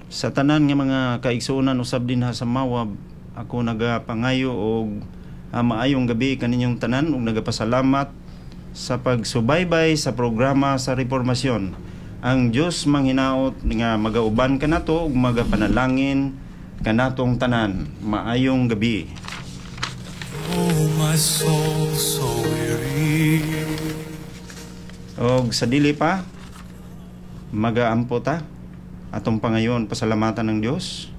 Sa tanan nga mga kaigsuonan usab dinha sa Mawab, ako nagapangayo og maayong gabi kaninyong tanan ug nagapasalamat sa pagsubaybay sa programa sa Reformasyon. Ang Dios manghinaot nga magauban kanato ug magapanalangin kanatong tanan. Maayong gabi. Oh, my soul so weary. Og sa dili pa magaampo ta, atong pangayon pasalamatan ng Dios.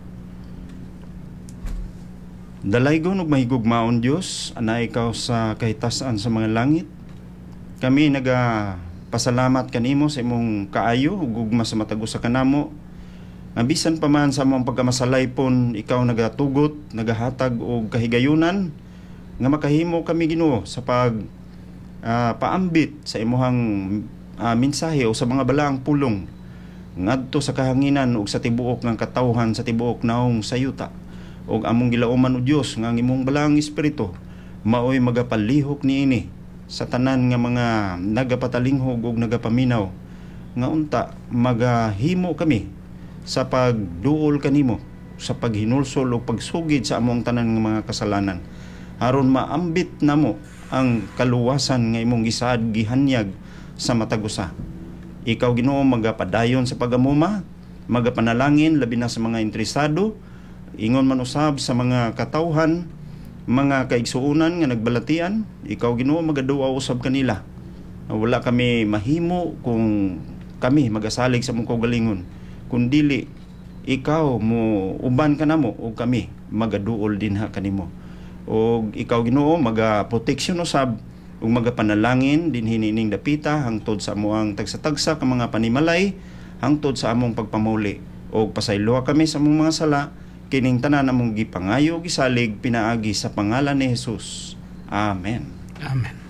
Dalaygon ug mahigugmaon Dios, anaa ikaw sa kahitasan sa mga langit. Kami naga pasalamat kanimo sa imong kaayo ug gugma sa matag usa kanamo. Nga bisan pa man sa among pagkamasalaypon, ikaw nagatugot, nagahatag og kahigayunan nga makahimo kami, Ginoo, sa pag paambit sa imuhang mensahe o sa mga balaang pulong ngadto sa kahanginan ug sa tibuok ng katawhan sa tibuok naong sa yuta. Ug among gilauman, o Dios, nga ang imong balaang espiritu maoy magapalihok niini sa tanan nga mga nagapatalinghog ug nagapaminaw, nga unta magahimo kami sa pagduol kanimo sa paghinulsol ug pagsugid sa among tanan nga mga kasalanan, aron maambit namo ang kaluwasan nga imong gisaad, gihanyag sa matag usa. Ikaw, Ginoo, magapadayon sa pagamuma, magapanalangin labi na sa mga interesado, ingon man usab sa mga katawhan, mga kaigsuonan nga nagbalatian. Ikaw, Ginoo, magaduaw usab kanila. Wala kami mahimo kung kami magasalig sa among kaugalingon, kundili ikaw mo uban kanamo ug kami magaduol dinha kanimo. Og ikaw, Ginoo, maga proteksyon usab ug magapanalangin dinhi niining dapita hangtod sa amoang tagsa-tagsa ka mga panimalay, hangtod sa among pagpamuli. Og pasayloa kami sa among mga sala. Kining tanan among gipangayo, gisalig pinaagi sa pangalan ni Jesus. Amen. Amen.